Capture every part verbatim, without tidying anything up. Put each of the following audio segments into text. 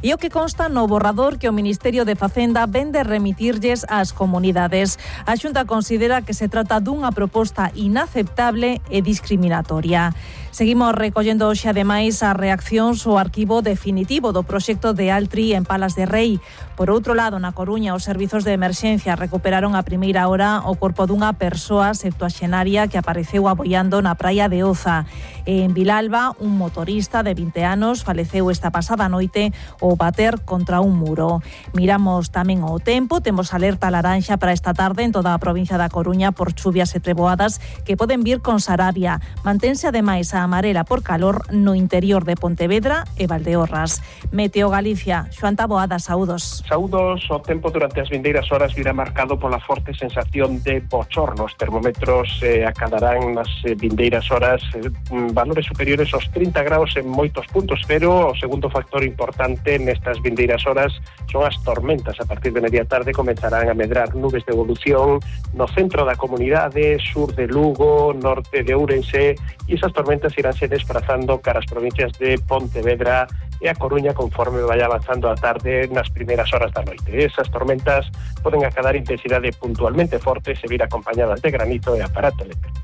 E o que consta no borrador que o Ministerio de Facenda vende remitirlles ás comunidades. A Xunta considera que se trata dunha proposta inaceptable e discriminatoria. Seguimos recollendo hoxe ademais as reaccións ao arquivo definitivo do proxecto de Altri en Palas de Rei. Por outro lado, na Coruña, os servizos de emerxencia recuperaron a primeira hora o corpo dunha persoa septuaxenaria que apareceu aboiando na praia de Oza. E en Vilalba, un motorista de vinte anos faleceu esta pasada noite ao bater contra un muro. Miramos tamén o tempo, temos alerta laranxa para esta tarde en toda a provincia da Coruña por chuvias e treboadas que poden vir con Sarabia. Mantense ademais a amarela por calor no interior de Pontevedra e Valdeorras. Meteo Galicia, Xoan Taboada, saúdos. Saúdos, o tempo durante as vindeiras horas virá marcado pola forte sensación de bochorno. Os termómetros eh, acadarán nas eh, vindeiras horas eh, valores superiores aos trinta graus en moitos puntos, pero o segundo factor importante nestas vindeiras horas son as tormentas. A partir de media tarde comenzarán a medrar nubes de evolución no centro da comunidade, sur de Lugo, norte de Ourense, e esas tormentas iránse desplazando cara as provincias de Pontevedra e a Coruña conforme vaya avanzando a tarde nas primeiras horas da noite. Esas tormentas poden acadar intensidade puntualmente forte e vir acompañadas de granizo e aparato eléctrico.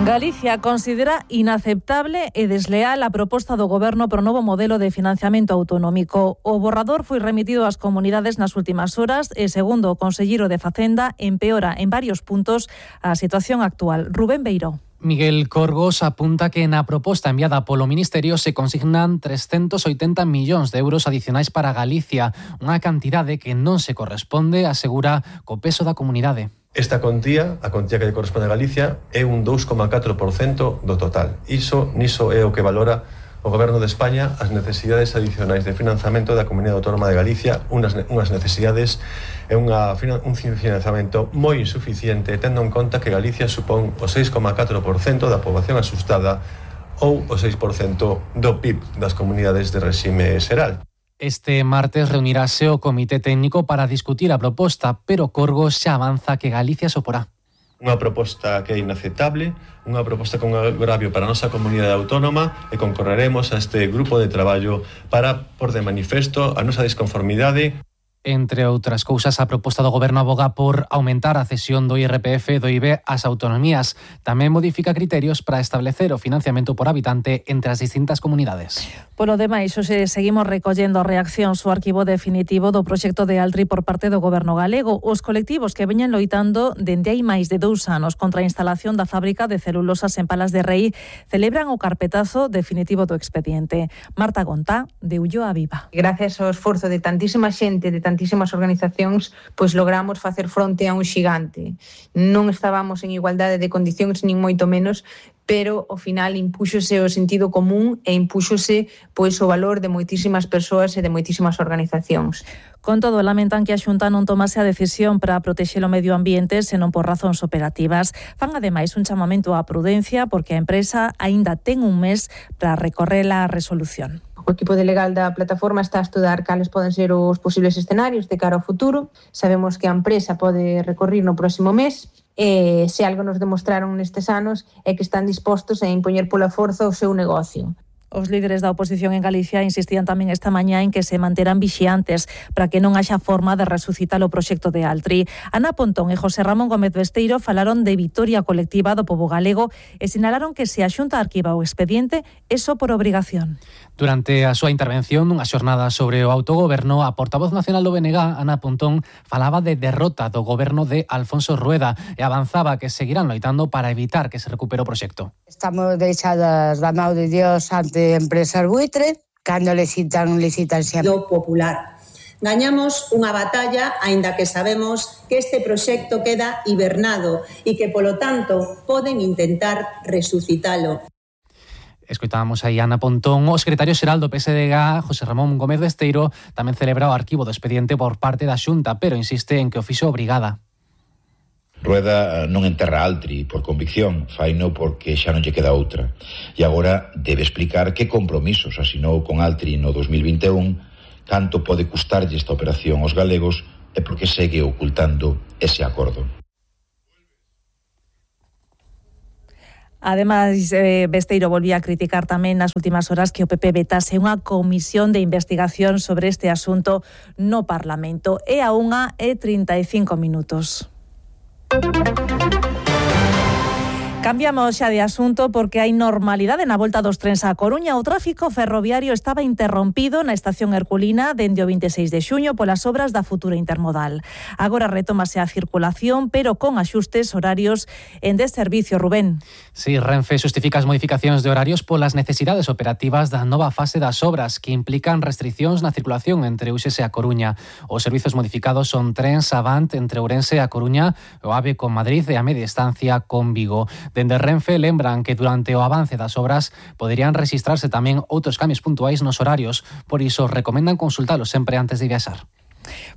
Galicia considera inaceptable e desleal a proposta do Goberno pro novo modelo de financiamento autonómico. O borrador foi remitido ás comunidades nas últimas horas e, segundo o conselleiro de Facenda, empeora en varios puntos a situación actual. Rubén Beiró. Miguel Corgos apunta que na proposta enviada polo Ministerio se consignan trescentos oitenta millóns de euros adicionais para Galicia, unha cantidade que non se corresponde, asegura, co peso da comunidade. Esta contía, a contía que lle corresponde a Galicia, é un dous coma catro por cento do total. Iso, niso é o que valora o Goberno de España as necesidades adicionais de financiamento da Comunidade Autónoma de Galicia, unhas, unhas necesidades e unha, un financiamento moi insuficiente, tendo en conta que Galicia supón o seis coma catro por cento da poboación asustada ou o seis por cento do P I B das comunidades de réxime xeral. Este martes reunirase o Comité Técnico para discutir a proposta, pero Corgos xa avanza que Galicia soporá. Unha proposta que é inaceptable, unha proposta con agravio para a nosa comunidade autónoma e concorreremos a este grupo de traballo para por de manifesto a nosa desconformidade. Entre outras cousas, a proposta do Goberno aboga por aumentar a cesión do I R P F e do I V A ás autonomías. Tamén modifica criterios para establecer o financiamento por habitante entre as distintas comunidades. Polo demais, hoxe seguimos recollendo reaccións ao arquivo definitivo do proxecto de Altri por parte do Goberno galego. Os colectivos que veñen loitando dende hai máis de dous anos contra a instalación da fábrica de celulosas en Palas de Rei celebran o carpetazo definitivo do expediente. Marta Gontá, de Ulloa Viva. Gracias ao esforzo de tantísima xente, de tantísimas organizacións, pois logramos facer fronte a un xigante. Non estábamos en igualdade de condicións, nin moito menos, pero ao final impúxose o sentido común e impúxose pois o valor de moitísimas persoas e de moitísimas organizacións. Con todo, lamentan que a Xunta non tomase a decisión para protexer o medio ambiente senón por razóns operativas. Fan ademais un chamamento á prudencia porque a empresa aínda ten un mes para recorrer a resolución. O equipo de legal da plataforma está a estudar cales poden ser os posibles escenarios de cara ao futuro. Sabemos que a empresa pode recorrer no próximo mes e se algo nos demostraron nestes anos é que están dispostos a impoñer pola forza o seu negocio. Os líderes da oposición en Galicia insistían tamén esta mañá en que se manterán vixiantes para que non haxa forma de resucitar o proxecto de Altri. Ana Pontón e José Ramón Gómez Besteiro falaron de vitoria colectiva do pobo galego e sinalaron que se a Xunta arquiva o expediente é só por obrigación. Durante a súa intervención nunha xornada sobre o autogoberno, a portavoz nacional do B N G, Ana Pontón, falaba de derrota do goberno de Alfonso Rueda e avanzaba que seguirán loitando para evitar que se recupere o proxecto. Estamos deixadas da mão de Dios ante empresas buitre, cando licitan, licitan sempre. Do popular. Gañamos unha batalla, aínda que sabemos que este proxecto queda hibernado e que, polo tanto, poden intentar resucitalo. Escoitábamos aí a Ana Pontón. O secretario xeral do P S D G, José Ramón Gómez Besteiro, tamén celebra o arquivo do expediente por parte da Xunta, pero insiste en que o fixo obrigada. Rueda non enterra Altri por convicción, faino porque xa non lle queda outra. E agora debe explicar que compromisos asinou con Altri no dos mil vinte e un, canto pode custarlle esta operación aos galegos e porque segue ocultando ese acordo. Ademais, eh, Besteiro volvía a criticar tamén nas últimas horas que o P P vetase unha comisión de investigación sobre este asunto no Parlamento. É a unha e trinta e cinco minutos. Cambiamos xa de asunto porque hai normalidade na volta dos trens á Coruña. O tráfico ferroviario estaba interrompido na estación Herculina dende o vinte e seis de xuño polas obras da futura intermodal. Agora retómase a circulación, pero con axustes horarios en desservicio, Rubén. Sí, Renfe xustifica as modificacións de horarios polas necesidades operativas da nova fase das obras que implican restriccións na circulación entre Uxes e a Coruña. Os servizos modificados son trens Avant entre Ourense e a Coruña, o AVE con Madrid e a media distancia con Vigo. Dende Renfe lembran que durante o avance das obras poderían rexistrarse tamén outros cambios puntuais nos horarios, por iso recomendan consultalos sempre antes de viaxar.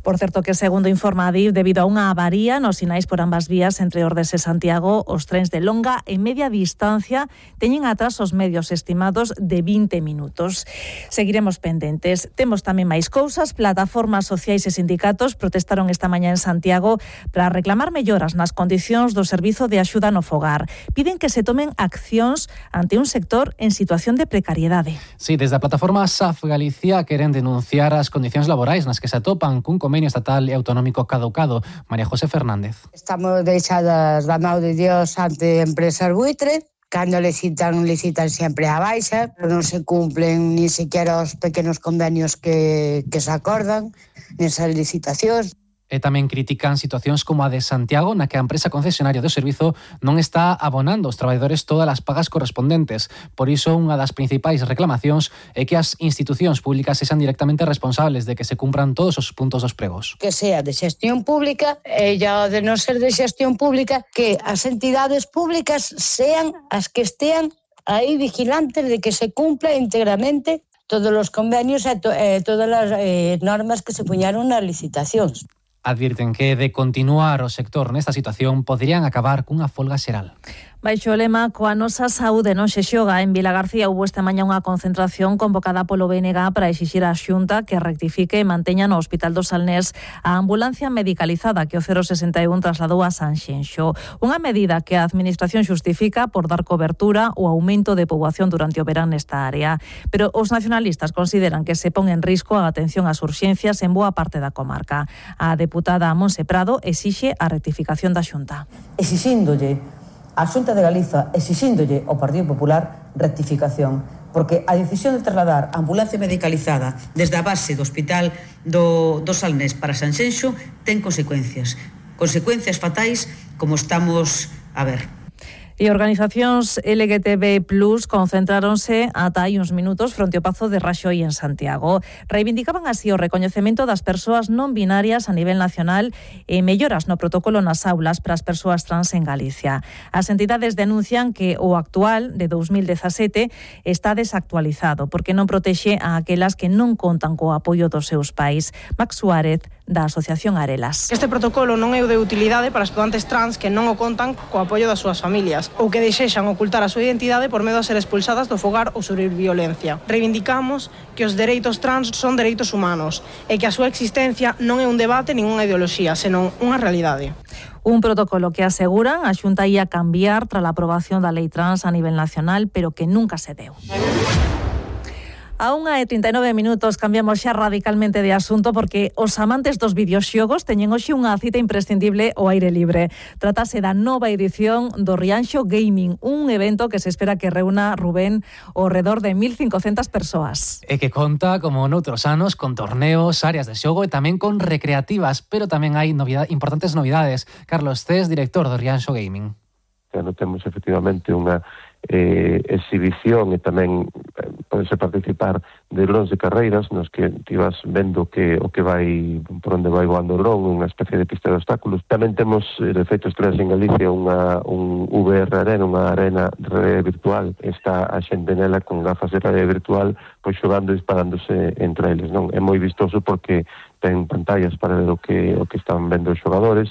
Por certo que, segundo informa Adif, debido a unha avaría nos sinais por ambas vías entre Ordes e Santiago, os trens de longa e media distancia teñen atrasos medios estimados de vinte minutos. Seguiremos pendentes. Temos tamén máis cousas. Plataformas sociais e sindicatos protestaron esta mañá en Santiago para reclamar melloras nas condicións do servizo de axuda no fogar. Piden que se tomen accións ante un sector en situación de precariedade. Sí, desde a plataforma S A F Galicia queren denunciar as condicións laborais nas que se atopan cun convenio estatal e autonómico caducado. María José Fernández. Estamos deixadas da mão de Dios ante empresas buitre. Cando licitan, licitan sempre a baixa, non se cumplen ni sequera os pequenos convenios que, que se acordan nesas licitacións. E tamén critican situacións como a de Santiago, na que a empresa concesionaria do servizo non está abonando aos traballadores todas as pagas correspondentes. Por iso, unha das principais reclamacións é que as institucións públicas sexan directamente responsables de que se cumpran todos os puntos dos pregos. Que sea de xestión pública e ya de non ser de xestión pública, que as entidades públicas sean as que estean aí vigilantes de que se cumpla íntegramente todos os convenios e, to- e todas as eh, normas que se puñaron nas licitacións. Advirten que, de continuar o sector nesta situación, poderían acabar cunha folga xeral. Baixo o lema "Coa nosa saúde non se xoga", en Vilagarcía houbo esta mañá unha concentración convocada polo B N G para exixir á Xunta que rectifique e manteña no Hospital do Salnés a ambulancia medicalizada que o cero sesenta e un trasladou a Sanxenxo. Unha medida que a Administración xustifica por dar cobertura ao aumento de poboación durante o verán nesta área. Pero os nacionalistas consideran que se pon en risco a atención ás urxencias en boa parte da comarca. A deputada Monse Prado exixe a rectificación da Xunta. Exixíndolle a Xunta de Galiza, exixíndolle ao Partido Popular rectificación, porque a decisión de trasladar a ambulancia medicalizada desde a base do Hospital do, do Salnés para Sanxenxo ten consecuencias. Consecuencias fatais como estamos a ver. E organizacións L G T B plus concentráronse ata hai uns minutos fronte ao Pazo de Raxoi en Santiago. Reivindicaban así o recoñecemento das persoas non binarias a nivel nacional e melloras no protocolo nas aulas para as persoas trans en Galicia. As entidades denuncian que o actual, de dous mil dezasete, está desactualizado porque non protexe a aquelas que non contan co apoio dos seus pais. Max Suárez, da Asociación Arelas. Este protocolo non é o de utilidade para estudantes trans que non o contan co apoio das súas familias ou que desexan ocultar a súa identidade por medo a ser expulsadas do fogar ou sufrir violencia. Reivindicamos que os dereitos trans son dereitos humanos e que a súa existencia non é un debate nin unha ideoloxía, senón unha realidade. Un protocolo que aseguran a Xunta ia cambiar tras a aprobación da lei trans a nivel nacional, pero que nunca se deu. A unha e trinta e nove minutos cambiamos xa radicalmente de asunto porque os amantes dos videoxogos teñen hoxe unha cita imprescindible ao aire libre. Tratase da nova edición do Rianxo Gaming, un evento que se espera que reúna, Rubén, ao redor de mil cincocentas persoas. E que conta, como noutros anos, con torneos, áreas de xogo e tamén con recreativas, pero tamén hai novidade, importantes novidades. Carlos Cés, director do Rianxo Gaming. No temos efectivamente unha eh, exhibición e tamén eh, podese participar de drones de carreiras nos que ti vas vendo que o que vai por onde vai voando o dron, unha especie de pista de obstáculos. Tamén temos, eh, de feito, estrelas en Galicia unha un V R Arena, unha arena de realidade virtual. Está a xente nela con gafas de realidade virtual pois xogando e disparándose entre eles, non? É moi vistoso porque ten pantallas para ver o que o que están vendo os xogadores.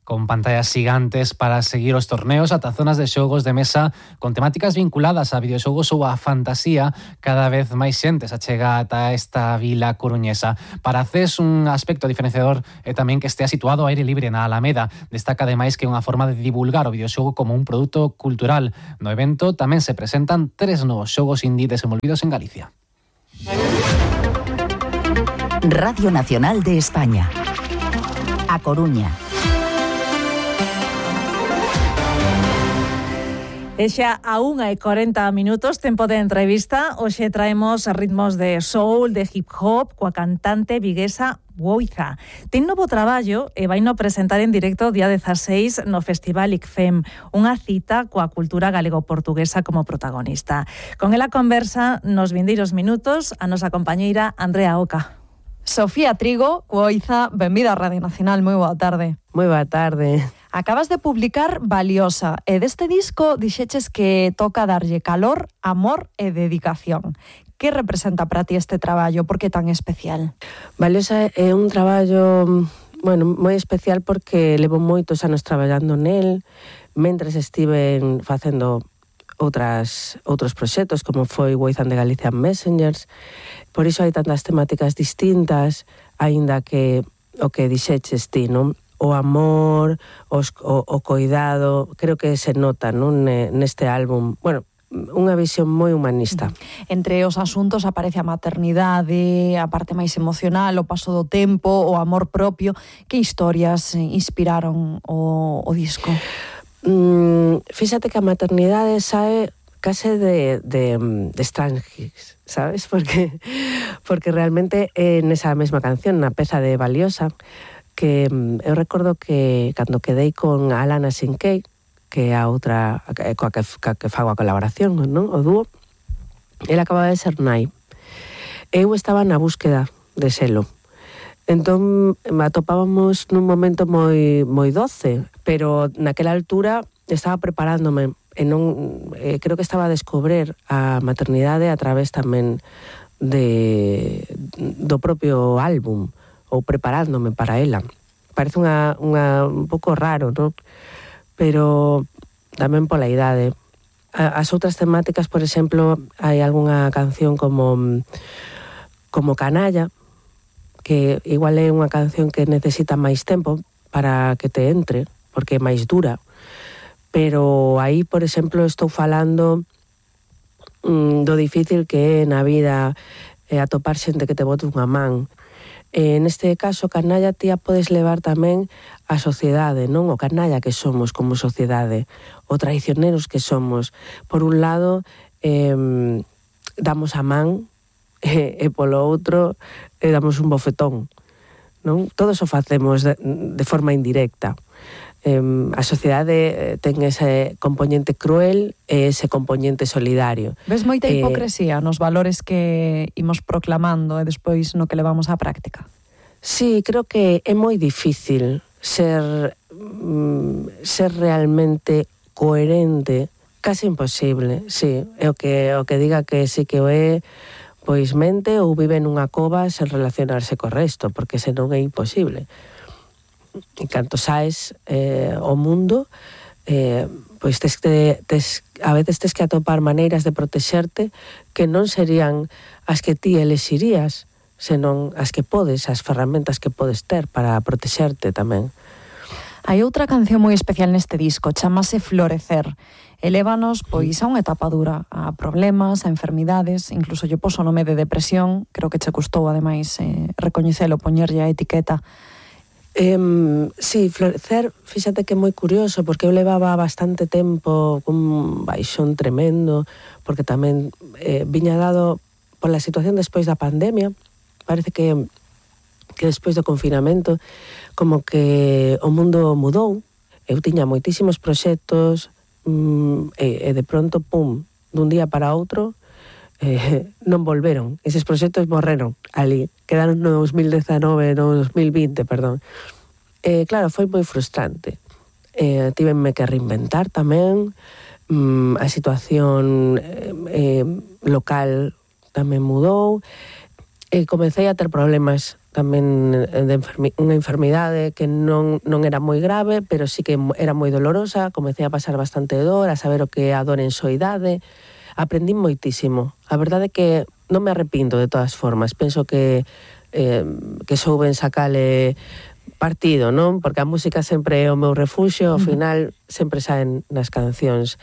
con pantallas gigantes para seguir os torneos, ata zonas de xogos de mesa con temáticas vinculadas a videoxogos ou a fantasía. Cada vez máis xente se achega ata esta vila coruñesa. Para C E S, un aspecto diferenciador é tamén que estea situado ao aire libre na Alameda. Destaca ademais que é unha forma de divulgar o videoxogo como un produto cultural. No evento tamén se presentan tres novos xogos indie desenvolvidos en Galicia. Radio Nacional de España. A Coruña. E xa a unha e corenta minutos, tempo de entrevista. Hoxe traemos ritmos de soul, de hip hop, coa cantante viguesa Woiza. Ten novo traballo e vai no presentar en directo o día dezaseis no Festival I C F E M, unha cita coa cultura galego-portuguesa como protagonista. Con ela conversa nos vindeiros minutos a nosa compañeira Andrea Oca. Sofía Trigo, Woiza, benvida a Radio Nacional, moi boa tarde. Moi boa tarde. Acabas de publicar Valiosa, e deste disco dixeches que toca darlle calor, amor e dedicación. Que representa para ti este traballo? Por que tan especial? Valiosa é un traballo, bueno, moi especial porque levo moitos anos traballando nel, mentres estiven facendo outras outros proxectos, como foi Woizan de Galician Messengers. Por iso hai tantas temáticas distintas, aínda que o que dixeches ti, non? O amor, os, o, o coidado, creo que se nota, non, neste álbum. Bueno, unha visión moi humanista. Entre os asuntos aparece a maternidade, a parte máis emocional, o paso do tempo, o amor propio. Que historias inspiraron o, o disco? Mm, fíxate que a maternidade sae case de, de, de Strange, sabes? Porque, porque realmente é nesa mesma canción, na peza de Valiosa, que eu recordo que cando quedei con Alana Sinkei, que é a outra coa que, coa que fago a colaboración, non? O dúo, ela acababa de ser nai. Eu estaba na búsqueda de selo. Entón, atopábamos nun momento moi moi doce, pero naquela altura estaba preparándome e non, eh, creo que estaba a descobrir a maternidade a través tamén de, do propio álbum, ou preparándome para ela. Parece unha, unha un pouco raro, non? Pero tamén pola idade. As outras temáticas, por exemplo, hai algunha canción como como Canalla, que igual é unha canción que necesita máis tempo para que te entre, porque é máis dura. Pero aí, por exemplo, estou falando mm, do difícil que é na vida eh, atopar xente que te bote unha man. E neste caso, canalla, tía, podes levar tamén a sociedade, non? O canalla que somos como sociedade, o traicioneros que somos. Por un lado, eh, damos a man, e, e polo outro, e damos un bofetón, non? Todo eso facemos de, de forma indirecta. Eh, a sociedade ten ese componente cruel e ese componente solidario. Ves moita hipocresía eh, nos valores que imos proclamando e despois no que levamos á práctica? Sí, creo que é moi difícil ser, mm, ser realmente coherente, casi imposible, sí. É o que, o que diga que sí que o é, pois mente ou vive nunha cova sen relacionarse co resto, porque senón é imposible. En canto saes eh, o mundo, eh, pois tes que, tes, a veces tes que atopar maneiras de protexerte que non serían as que ti elexirías, senón as que podes, as ferramentas que podes ter para protexerte tamén. Hai outra canción moi especial neste disco, chamase Florecer. Elévanos, pois, a unha etapa dura, a problemas, a enfermidades, incluso lle poso o nome de depresión, creo que che custou, ademais, eh, recoñecelo, poñerlle a etiqueta. Eh, sí, Florecer, fíxate que é moi curioso, porque eu levaba bastante tempo cun baixón tremendo, porque tamén eh, viña dado pola situación despois da pandemia. Parece que, que despois do confinamento, como que o mundo mudou. Eu tiña moitísimos proxectos, mm, e, e de pronto, pum, dun día para outro, eh, non volveron. Eses proxectos morreron ali. Quedaron no dos mil dezanove, no dos mil vinte, perdón. Eh, claro, foi moi frustrante. Eh, tívenme que reinventar tamén. Mm, a situación eh, eh, local tamén mudou. E comecei a ter problemas tamén de enfermi- unha enfermidade que non, non era moi grave, pero sí que era moi dolorosa. Comecei a pasar bastante dor, a saber o que é a dor en soidade. Aprendí moitísimo. A verdade é que non me arrepinto de todas formas. Penso que eh, que souben sacale partido, non? Porque a música sempre é o meu refuxio, ao final sempre saen nas cancións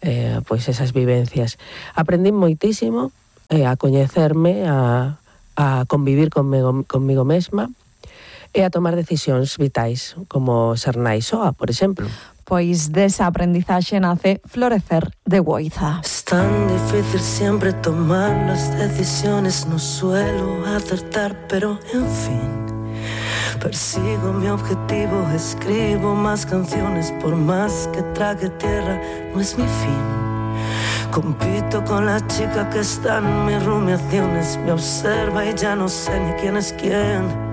eh, pois esas vivencias. Aprendí moitísimo eh, a coñecerme, a, a convivir conmigo, conmigo mesma e a tomar decisións vitais, como ser nai soa, por exemplo. Pois desa aprendizaxe nace Florecer de Guoiza. Es tan difícil siempre tomar las decisiones, no suelo acertar, pero en fin, persigo mi objetivo, escribo más canciones, por más que trague tierra, no es mi fin. Compito con la chica que está en mis rumiaciones, me observa y ya no sé ni quién es quién.